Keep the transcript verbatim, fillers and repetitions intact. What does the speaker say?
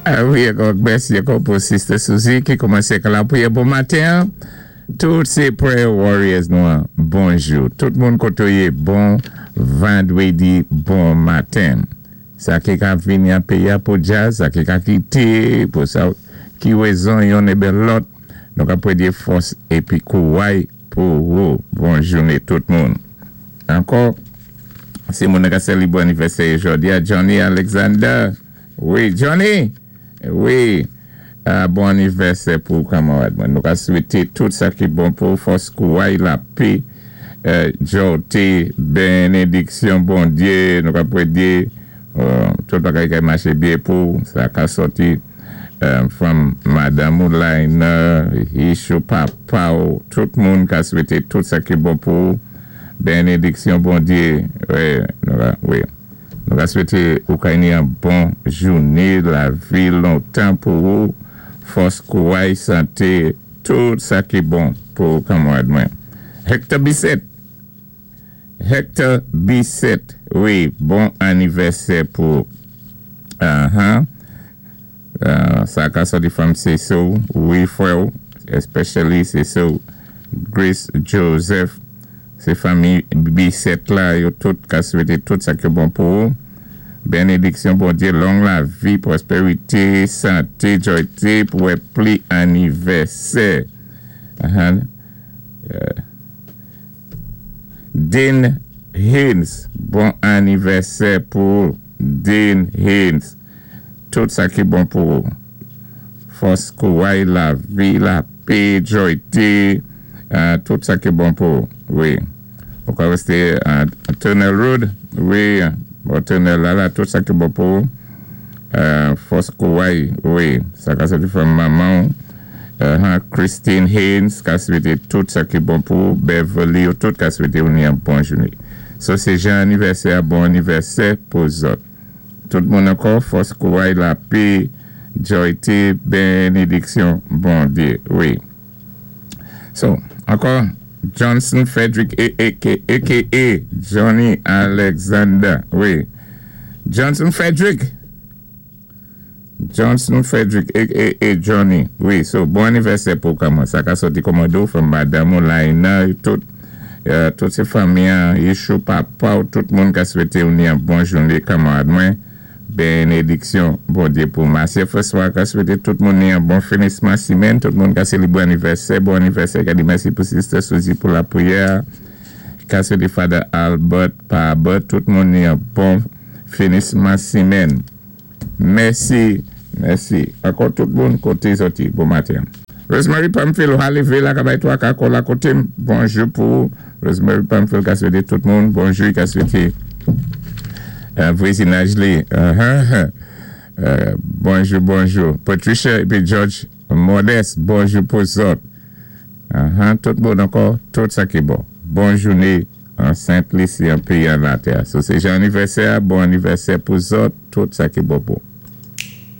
Ah wi, ankò mèsi ankò pou Sister Suzy ki koumansé ak lapriyè bon maten. Tout sé prayer warriors nou, bonjou. Tout moun koté ou yé, bon vandwédi, bon maten. Sa ki ka vini an péyi pou djaz, sa ki ka kité, pou sa ki wézon youn é ben lòt, nou ka pwédyé fòs épi kouway pou ou. Bon jouné tout moun. Ankò, sé moun ka sélébwé anivèsè jòdi a Johnny Alexander. Wi, Johnny. Wi. Uh, bon anivèsè pou kanmarad mwen. Nou ka swété tout sa ki bon pou fòs kouway, lapè, euh, jòyté, bénédiksyon, Bondyé, nou ka pwédyé euh, tout bagay ki maché byen pou sa ka sòti euh, from Madanm ou Laina, Ishu, papa ou, tout moun ka swété tout sa ki bon pou bénédiksyon Bondyé. Wi, nou ka, wi. Nou ka swété ou ka ni yon bon jouné, lavi lontan pou ou, fòs kouway, santé, tout sa ki bon pou kanmarad mwen. Hector Bisset. Hector Bisset. Wi, bon anivèsè pou uh-huh. Uh, sa ka sòti from Cecil, wi frè, especially Cecil Grace Joseph. Sé fanmi Bisset la, yo tout ka swété tout sa ki bon pou ou. Bénédiksyon Bondyé, long lavi, pwòspérité, santé, jòyté pou pli anivèsè. Uh-huh. Uh, Dean Haynes, bon anivèsè pou Dean Haynes. Tout sa ki bon pou ou. Fòs kouway, lavi, lapè, jòyté, uh, tout sa ki bon pou ou. Wi. Ou ka wésté uh, Tunnel Road, wi, bon, Tunnel la, la, tout sa ki bon pou ou. Uh, fòs kouway, wi, sa ka sòti from manman, uh, Christine Haynes, ka swété tout sa ki bon pou ou, Beverly, ou tout ka swété ou ni yon bon jouné. So, sé jan anivèsè, bon anivèsè pou zòt. Tout moun ankò, fòs kouway, lapè, jòyté, bénédiksyon, Bondyé, wi. So, ankò, Johnson Frederick, A K A Johnny Alexander, wi. Johnson Frederick. Johnson Frederick, A K A Johnny. Wi, so bon anivèsè pou kòman. Sa ka sòti kòmando from Madanm Laina, tout, euh, tout sé fanmi, Yeshua, papa, tout moun ka swété ou ni yon bon jouné, kanmarad mwen. Bénédiksyon, Bondyé pou Marcia François, ka swété tout moun ni yon bon finisman simèn, tout moun ka sélébré anivèsè, bon anivèsè, ka di mèsi pou Sister Suzy pou lapriyè, ka swété Father Albert, Pa Albert, tout moun ni yon bon finisman simèn. Mèsi, mèsi. Ankò tout moun koté sòti, bon maten. Rosemary Pamphile, Halle la, ka bay twa ka la koté, bonjou pou Rosemary Pamphile, ka swété tout moun, bonjou, ka swété euh, vwazinaj li. Uh-huh. Euh, bonjou, bonjou. Patricia épi George Modeste, bonjou pou zòt. Uh-huh. Tout moun ankò, tout sa ki bon. Bon jouné an Saint-Lucie, an péyi an latè. So, sé jan anivèsè, bon anivèsè pou zòt, tout sa ki bon pou.